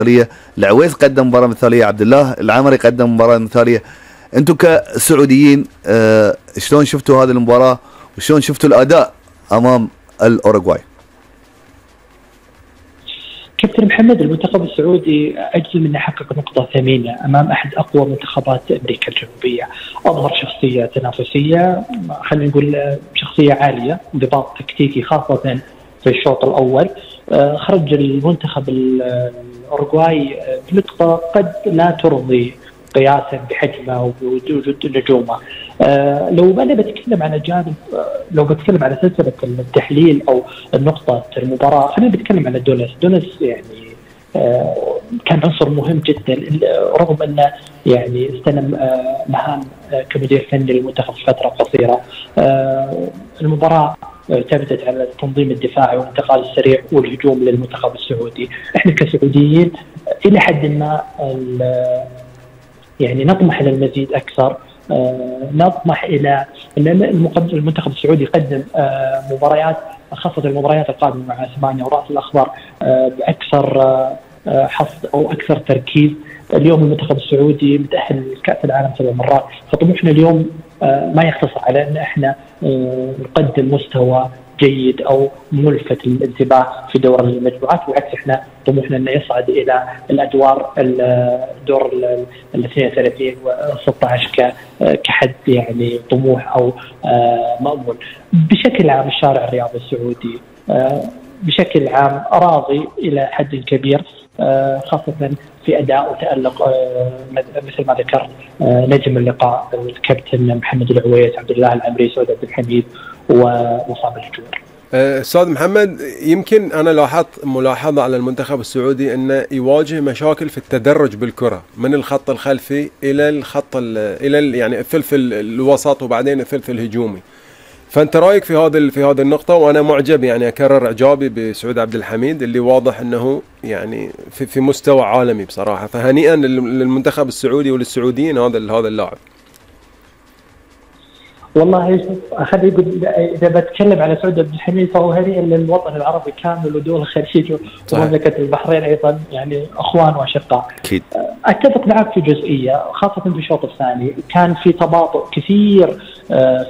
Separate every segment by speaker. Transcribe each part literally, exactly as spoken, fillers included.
Speaker 1: مثالية، العويس قدم مباراة مثالية، عبد الله العمري قدم مباراة مثالية. انتم كسعوديين اه شلون شفتوا هذه المباراة وشلون شفتوا الاداء امام الاوروغواي؟
Speaker 2: كابتن محمد، المنتخب السعودي اجل من يحقق نقطة ثمينة امام احد اقوى منتخبات امريكا الجنوبية. اظهر شخصية تنافسية، خلينا نقول شخصية عالية، انضباط تكتيكي خاصة في الشوط الاول. خرج المنتخب الاوروغواي بنقطة قد لا ترضي قياسا بحجمه وبوجود نجومه. آه لو انا بتكلم على جانب آه لو بتكلم على سلسله التحليل او النقطه المباراه، خلينا نتكلم على دونس. دونس يعني آه كان عنصر مهم جدا، رغم انه يعني استلم آه مهام آه كمدير فني للمنتخب في فتره قصيره. آه المباراه اعتمدت على التنظيم الدفاعي والانتقال السريع والهجوم للمنتخب السعودي. احنا كسعوديين الى حد ما يعني نطمح الى المزيد اكثر. آه نطمح الى ان المنتخب السعودي يقدم آه مباريات، خاصه المباريات القادمه مع اسبانيا وراس الاخضر، آه باكثر آه حصد او اكثر تركيز. اليوم المنتخب السعودي متاهل لكاس العالم سبع مرات، فطموحنا اليوم آه ما يقتصر على ان احنا آه نقدم مستوى جيد او ملفت للانتباه في دور المجموعات، بالعكس احنا طموحنا انه يصعد الى الادوار الدور ال اثنين وثلاثين و ستة عشر كحد يعني طموح او مأمول. بشكل عام الشارع الرياضي السعودي بشكل عام راضي الى حد كبير، خاصه في اداء وتالق مثل ما ذكرت نجم اللقاء الكابتن محمد العويس، عبد الله العمري، سعود عبد الحميد ومصعب الجوير.
Speaker 3: استاذ محمد، يمكن انا لاحظت ملاحظه على المنتخب السعودي انه يواجه مشاكل في التدرج بالكره من الخط الخلفي الى الخط الى يعني الثلث الوسط وبعدين الثلث الهجومي. فانت رايك في هذا في هذه النقطه؟ وانا معجب، يعني اكرر اعجابي بسعود عبد الحميد اللي واضح انه يعني في, في مستوى عالمي بصراحه، فهنيئا للمنتخب السعودي وللسعوديين هذا هذا اللاعب.
Speaker 2: والله خليني اقول، اذا بتكلم على سعود عبد الحميد فهو هنيئا للوطن العربي كامل ودول الخليج ومملكه البحرين ايضا، يعني اخوان واشقاء.
Speaker 1: اكيد
Speaker 2: اتفق معك في جزئيه، خاصه في الشوط الثاني كان في تباطؤ كثير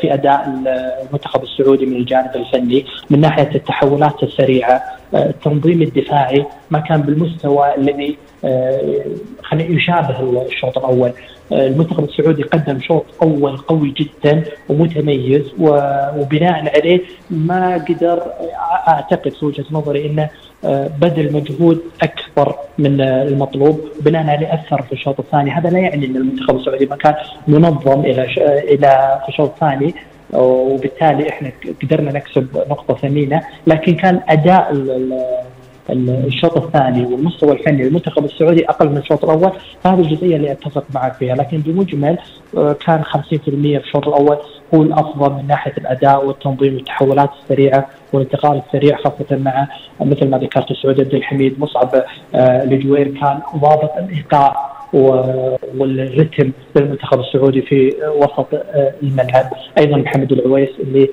Speaker 2: في اداء المنتخب السعودي من الجانب الفني، من ناحيه التحولات السريعه، التنظيم الدفاعي ما كان بالمستوى الذي خلينا يشابه الشوط الاول. المنتخب السعودي قدم شوط اول قوي جدا ومتميز، وبناء عليه ما قدر، اعتقد في وجهه نظري انه بذل مجهود اكبر من المطلوب، بناء عليه اثر في الشوط الثاني. هذا لا يعني ان المنتخب السعودي ما كان منظم الى الى في الشوط الثاني، وبالتالي احنا قدرنا نكسب نقطه ثمينه، لكن كان اداء الشوط الثاني والمستوى الفني للمنتخب السعودي اقل من الشوط الاول. هذه الجزئيه اللي اتفق معك فيها، لكن بمجمل كان خمسين بالمئة في الشوط الاول هو الافضل من ناحيه الاداء والتنظيم والتحولات السريعه والانتقال السريع، خاصه مع مثل ما ذكرت سعود عبد الحميد. مصعب الجوير كان ضابط الايقاع والرتم للمنتخب السعودي في وسط الملعب. ايضا محمد العويس اللي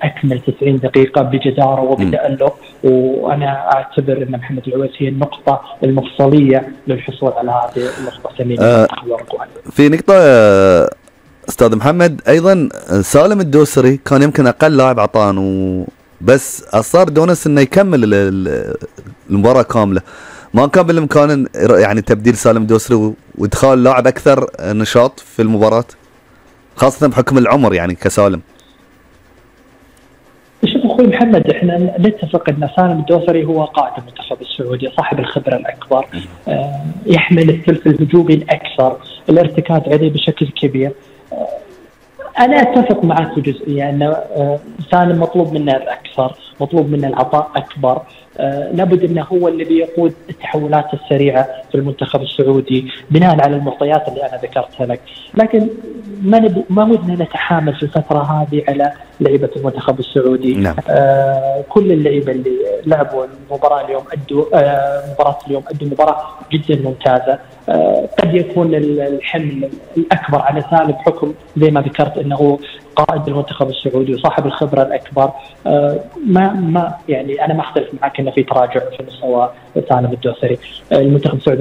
Speaker 2: اكمل تسعين دقيقه بجداره وبتالق، وانا اعتبر ان محمد العويس هي النقطه المفصليه للحصول على هذه النقطه الثمينه.
Speaker 1: آه في نقطه آه استاذ محمد، ايضا سالم الدوسري كان يمكن اقل لاعب عطان، بس اصر دونس انه يكمل المباراه كامله. ما كان بالامكان يعني تبديل سالم الدوسري وادخال لاعب اكثر نشاط في المباراه، خاصه بحكم العمر يعني كسالم؟
Speaker 2: شوف اخوي محمد، احنا نتفق ان سالم الدوسري هو قائد المنتخب السعودي، صاحب الخبره الاكبر، آه يحمل الثلث الهجومي الاكثر، الارتكاز عليه بشكل كبير. آه انا اتفق معك في جزئيه ان آه سالم مطلوب منه الاكثر، مطلوب منه العطاء اكبر. آه لابد انه هو الذي يقود التحولات السريعه في المنتخب السعودي بناء على المعطيات اللي انا ذكرتها لك، لكن ما نب... ما ودنا نتحامل في الفتره هذه على لعيبه المنتخب السعودي.
Speaker 1: نعم.
Speaker 2: آه كل اللعيبه اللي لعبوا المباراه اليوم ادوا آه مباراه اليوم ادوا مباراه جدا ممتازه. آه قد يكون الحمل الاكبر على سالم بحكم زي ما ذكرت انه قائد المنتخب السعودي وصاحب الخبره الاكبر، ما ما يعني انا ما اختلف معك انه في تراجع في مستوى سالم الدوسري. المنتخب السعودي